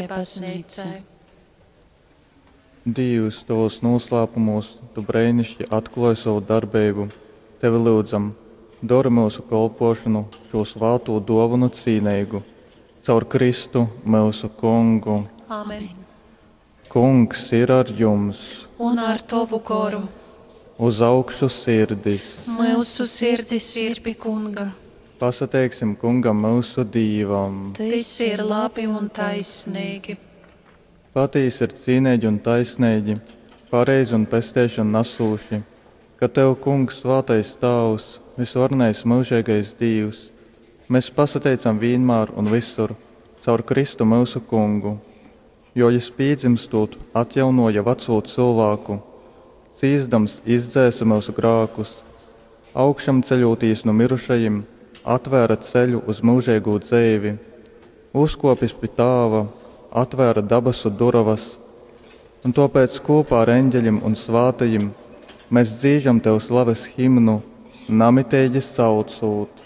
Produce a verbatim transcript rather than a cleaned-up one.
Baznīcai. Dīvs, tovūs nūslāpumūs tu breiniški atklōj sovu darbeibu. Tevi lyudzam, dori myusu kolpōšonu šū svātū dōvonu cīneigu. Caur Kristu, myusu Kungu. Amen. Kungs ir ar jums! Un ar tovu goru. Uz augšu sirdis! Myusu sirdis ir pi Kunga. Pasateiksim Kungam myusu Dīvam! Tys ir labi un taisneigi. Patīsi ir cīneigi un taisneigi, pareizi un pesteišonu nasūši, ka tev, Kungs, svātais Tāvs, vysvarenais myužeigais Dīvs, mes pasateicam vīnmār un vysur caur Kristu myusu Kungu, jo jys pīdzymstūt atjaunōja vacū cylvāku, cīsdams izdzēse myusu grākus, augšamceļūtīs nu myrušajim, atvēra ceļu uz myužeigū dzeivi, uzkōpis pi Tāva, atvēra dabasu durovas. Un tōpēc kūpā ar eņģeļim un svātajim mēs dzīžam tev slaves himnu, namiteigi saucūt.